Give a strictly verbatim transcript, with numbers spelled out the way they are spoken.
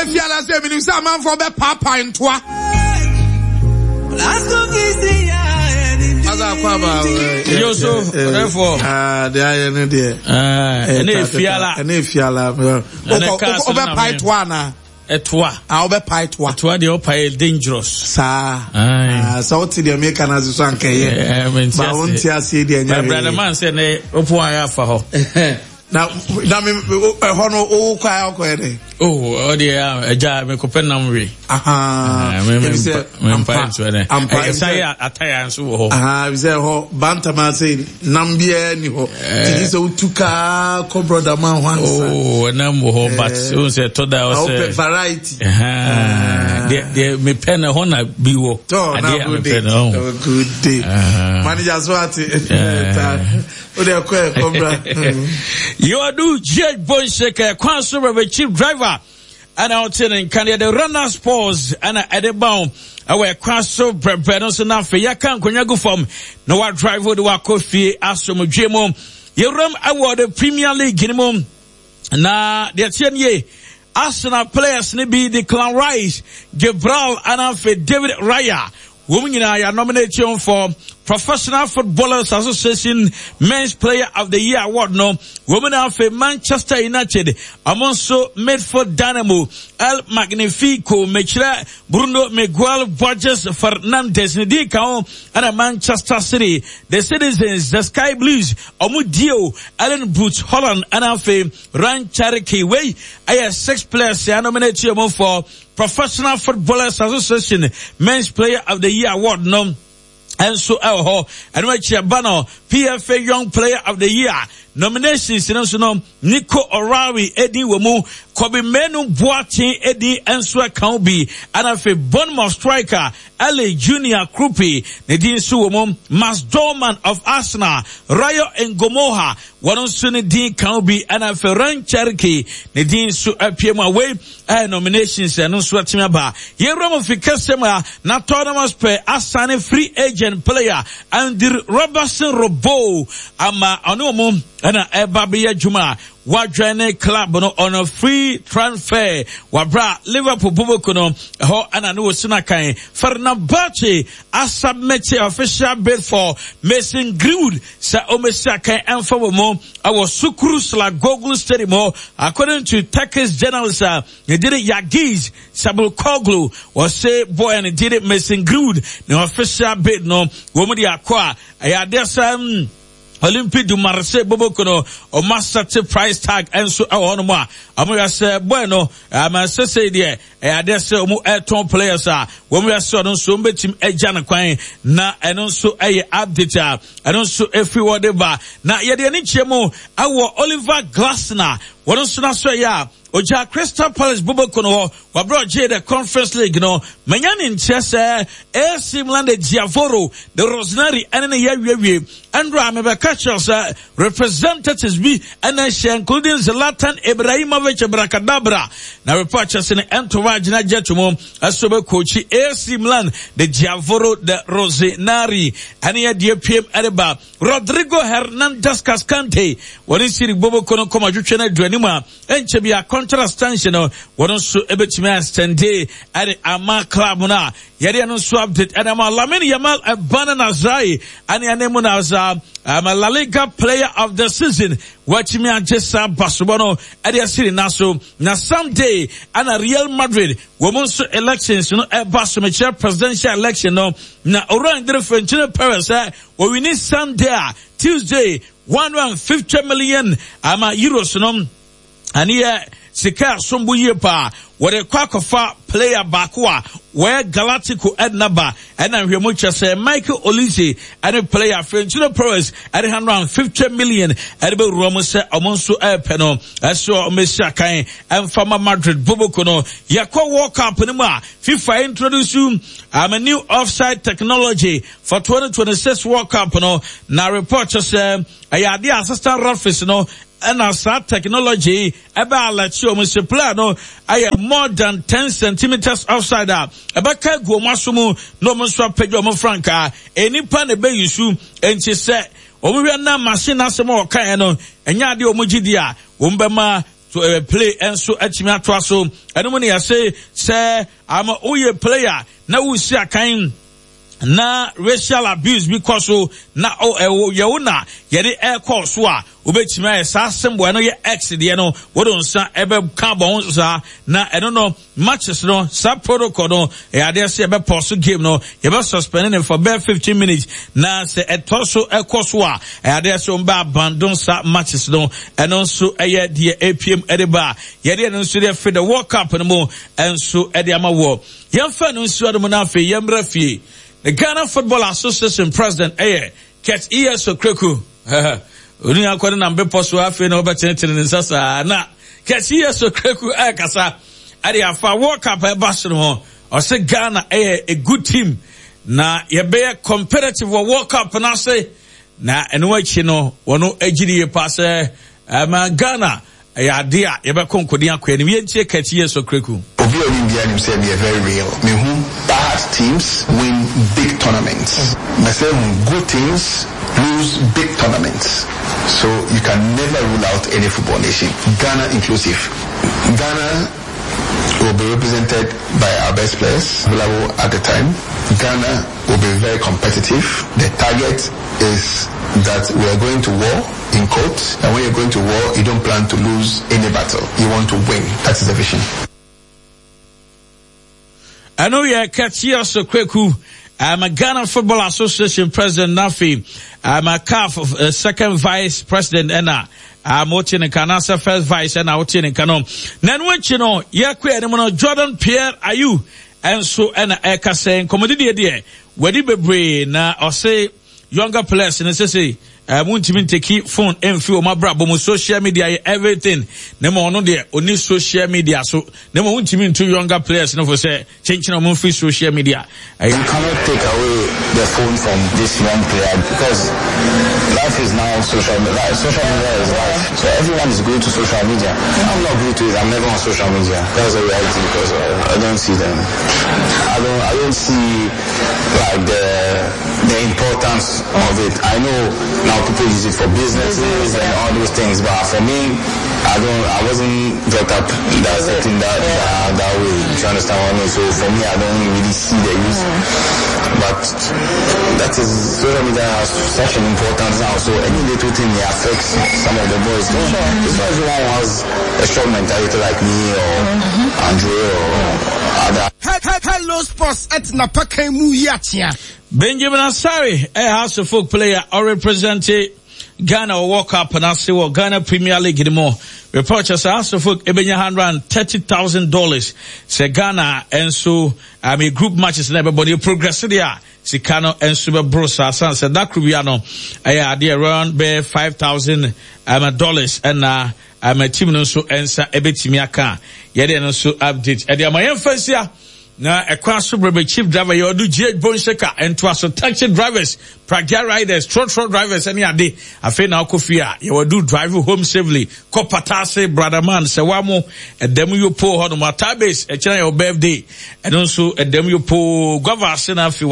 Efiala sɛ menim sɛ amanfoɔ bɛpaapae ntoa. Asa akɔ aba. Yo so, therefore. Ah, deɛ ayɛ ne deɛ. Ɛne efiala. Ɛne efiala. Wobɛpae toa anaa? Ɛtoa. Ah, wobɛpae toa. Ɛtoa deɛ ɔpae yɛ dangerous. Saa. Ah, sɛ wote deɛ meka no ase so anka ɛyɛ. Ba wonte aseɛ deɛ ɛnyɛ hwee. Brother man sɛ ne wopo ayɛ afa hɔ. Na na me ɛhɔ no wo kɔ ayɛ ɔkɔ yɛ dɛ. Oh, ɔdeɛ agya mekɔpɛ nam we. Aha. Ebi sɛ ampa ampa. Ɛsan yɛ ataya nso wɔ hɔ. Aha, ebi sɛ ɛhɔ bantam ase nam biara ni hɔ. Titi sɛ wotu kaa kɔ brother man hɔ ansa. Oh, nam wɔ hɔ but o sɛ ɛtɔ da ɔsɛ. Ɔpɛ variety. Deɛ deɛ mepɛ no hɔ na bi wɔ. Tɔ na good day. Good day. Manager so ate. O de ɛkɔ ɛkɔ bra. Yɛwɔdu G H Bonsheke kwan so rɛbɛ chief driver ɛna ɔte ne nka deɛ de runner sports ɛna ɛde ba wo ɛwɔ ɛkwan so brɛbrɛ no so na afei yɛka nkonnwa gu fam na wadrive de wakɔ fie asomdwe mu. Yɛwuram ɛwɔ the Premier League no mu na deɛ teɛ nie, Arsenal players ne bi Declan Rice, Gabriel ɛna afei David Raya wɔn nyinaa yɛ nominate for Professional Footballers Association Men's Player of the Year Award no. Wɔn na afei Manchester United ɔmo nso midfield dynamo El Magnifico mekyerɛ Bruno Miguel Borges Fernandes ne di ka ho, ɛna Manchester City the Citizens, the Sky Blues ɔmo dio Erling Braut Haaland ɛna afei Rayan Cherki. Wei ɛyɛ six players yɛ nominate wɔn for Professional Footballers Association Men's Player of the Year Award no. Ɛnso ɛwɔ hɔ ɛno akyi ɛba no P F A Young Player of the Year nominations no nso no, Nico O'Reilly edi wɔ mu, Kobbie Mainoo Boateng edi nso ɛka ho bi, ɛna afei Bournemouth striker Eli Junior Kroupi ne din nso wɔ mu, Max Dowman of Arsenal, Rayo Ngumoha wɔn nso ne din ka ho bi, ɛna afei Rayan Cherki ne din nso apue mu a wei ɛyɛ nominations ɛno nso atumi aba. Yɛwura mu fi kɛseɛ mu a na Tottenham Hotspur asane free agent player Andy Robertson Robo ama ɔne wɔn ɛna ɛba bɛyɛ adwuma a wadwane club no on a free transfer wabra Liverpool boboko no ɛhɔ ɛna ne wɔsi no kan. Fenerbahce asubmit official bid for Mason Greenwood sɛ ɔmɛsi akan ɛmfa wɔ mu ɛwɔ Sukru Saracoglu Stadium hɔ. According to Turkish journalist a ne dere Yagiz Sabulkoglu, wɔse boy ne dere Mason Greenwood ne official bid no wɔn de akɔ a ɛyɛ adeɛ sɛ mm, Olympique du Marseille boboko no ɔmo asɛte price tag nso ɛwɔ hɔnom a ɔmo yɛ sɛ boy no ama sese deɛ ɛyɛ adeɛ sɛ ɔmo ɛtɔn players a wɔn yɛ sɛ ɔno nso ɔmo bɛtumi agya ne kwan na ɛno nso ɛyɛ update a ɛno nso efiri wɔ de ba. Na yɛde ani kyerɛ mu ɛwɔ Oliver Glasner, wɔn nso n'aso ɛyɛ a ogya Crystal Palace boboko no hɔ wabrɛ ɔgye the Conference League no manya ne nkyerɛ sɛ A C Milan de Giavoro de Rossoneri ɛne ne yɛ awiewie. Ɛndra mebɛka kyerɛ sɛ representatives bi ɛna ɛhyɛ, including Zlatan Ibrahimovic Brakadabra, na report kyerɛ sɛ ne entourage na gye to mu ɛso bɛkɔkyi A C Milan de Giavoro de Rossoneri ɛne yɛ deɛ piem ɛde ba. Rodrigo Hernandez Cascante wɔne siri boboko no kɔma twetwe no adu anim a ɛnkyɛ bi a contract extension no wɔn nso ɛbɛtumi extend ɛde ama club no a yɛde ɛno nso update ɛde ama. Lamine Yamal ɛba no Nasrai ɛne ɛne mu na sa ama La Liga Player of the Season wɔatumi agye saa basobɔ no ɛde asiri na so. Na someday ɛna Real Madrid wɔn nso elections no ɛba so, mekyerɛ presidential election no, na owura ndere Florentino Perez sɛ wɔwini Sunday a Tuesday one hundred and fifty million ama euros no ɛne yɛ sika asombo yie paa wɔde kɔ akɔfa player baako a wɔyɛ Galactico ɛdina ɛna nhwɛmu kyerɛ sɛ Michael Olise ɛne player Florentino Perez ɛde one hundred and fifty million ɛde bɛwura mu sɛ ɔmo nso ɛɛpɛ no ɛso ɔmo akan ɛmfama Madrid boboko no. Yɛkɔ World Cup no mu a FIFA introduce um, a new offside technology for twenty twenty-six World Cup no, na report kyerɛ sɛ ɛyɛ adeɛ assistant referees no ɛna saa technology ɛbɛ alert wɔn sɛ player no ayɛ more than ten centimeters offside a ɛbɛka gu wɔn aso mu na wɔn nso apagya wɔn frankaa. Enipa na ɛbɛyi so nti sɛ wɔn hwɛ na machine asɛm a wɔkaeɛ no ɛnyɛ adeɛ wɔn gye di a wɔn bɛma to uh, play nso atumi atoa so. Ɛno mu ne yɛse sɛ ama woyɛ player na wosi akan na racial abuse bi kɔ so na yɛwo na yɛde ɛkɔ so a, wobɛtumi ayɛ saa symbol ɛno yɛ X deɛ no, wode nsa ɛbɛka bɔ ho saa. Na ɛno no matches no, saa protocol no ɛyɛ adeɛ sɛ yɛbɛpɔ so game no, yɛbɛ suspend ne for bɛɛ fifteen minutes, na sɛ ɛtɔ so ɛkɔ so a, ɛyɛ adeɛ sɛ wɔn abandon saa matches no. Ɛno nso ɛyɛ deɛ A P M ɛde ba yɛde ɛno nso deɛ fi the World Cup no mu ɛnso ɛde ama wɔ. Yɛmfa no nsuo no mu na afei yɛmmerɛ fie. The Ghana Football Association president ɛyɛ Kurt E S. Okraku. Onu akɔ ne nam bepɔ so, afei na ɔbɛtenetene ne nsa saa. Na Kurt E S. Okraku ɛrekasa ɛde afa World Cup ɛba so no ho. Ɔsɛ Ghana ɛyɛ a good team na yɛbɛyɛ competitive wɔ World Cup n'ase. Na ɛno akyi no, wɔn agyiri yie pa sɛ ɛma Ghana ɛyɛ ade a yɛbɛkɔ nkɔden akɔ anim. Yɛntie Kurt E S. Okraku. Obi a onim biara nim sɛ meyɛ very real. Mehu bad teams win big tournaments. Mɛsɛ hu good teams lose big tournaments. So you can never rule out any football nation, Ghana inclusive. Ghana will be represented by our best players available at the time. Ghana will be very competitive. The target is that we are going to war, in quotes, and when you're going to war, you don't plan to lose any battle. You want to win. That is the vision. Ɛno yɛ Kurt E S. Okraku, um, Ghana Football Association president, nafi um, CAF uh, second vice president, ɛna um, wote ne nka anaasɛ first vice ɛna wote ne nka no. Na ɛno akyi no, yɛkɔ anim no, Jordan Pierre Ayew ɛnso ɛna ɛka sɛ nkɔmmɔdidiɛ deɛ wadi bebree, na ɔse younger players no sese uh, muntumi nteki phone mfi wɔn abrabɔ mu, social media yɛ everything, na ma ɔno deɛ ɔni social media so, na ma wontumi ntu younger players no fo sɛ kyenkyene wɔn mfiri social media. You cannot take away the phone from this young player because life is now social media. Social media is life. So everyone is going to social media. I'm not glued to it. I'm never on social media. That's the reality because I don't see them. I don't. I don't see like the the importance of it. I know now people use it for businesses and all those things, but for me, I don't. I wasn't brought up that setting that, that that way. Do you understand what I mean? So for me, I don't really see the use. But that is, social media has such an importance now. So any little thing, it affects some of the boys. Sure. It's not everyone who has a strong mentality like me or Andre or other. Hello Sports ɛtena pakan mu yi akyea. Benjamin Asare ɛyɛ Hearts of Oak player ɔrepresent Ghana wɔ World Cup n'ase wɔ Ghana Premier League ni mu. Report kyerɛ sɛ Hearts of Oak ebenya hundred and thirty thousand dollars sɛ Ghana nso I mean group matches na ɛbɛbɔ ne progress deɛ a, sika no nso bɛboro saa, san sɛ dakoro bia no ɛyɛ adeɛ around bɛyɛ five thousand um, dollars ɛna um, team no nso nsa ɛbɛtumi aka. Yɛde no nso update ɛde ama yɛn fa nsia na ɛkwan so brɛbɛ. Chief driver yɛ ɔdo G H Bonseka ntoa so, taxi drivers, pragya riders, trotro drivers ɛne ade. Afei na akɔ fie a, yɛwɔ do drive home safely kɔ Patase, Brotherman sɛ wamo ɛdɛm yopo hɔ nom atabase. Ɛkyɛn yɛ birthday, ɛno nso ɛdɛm yopo guava ase na afei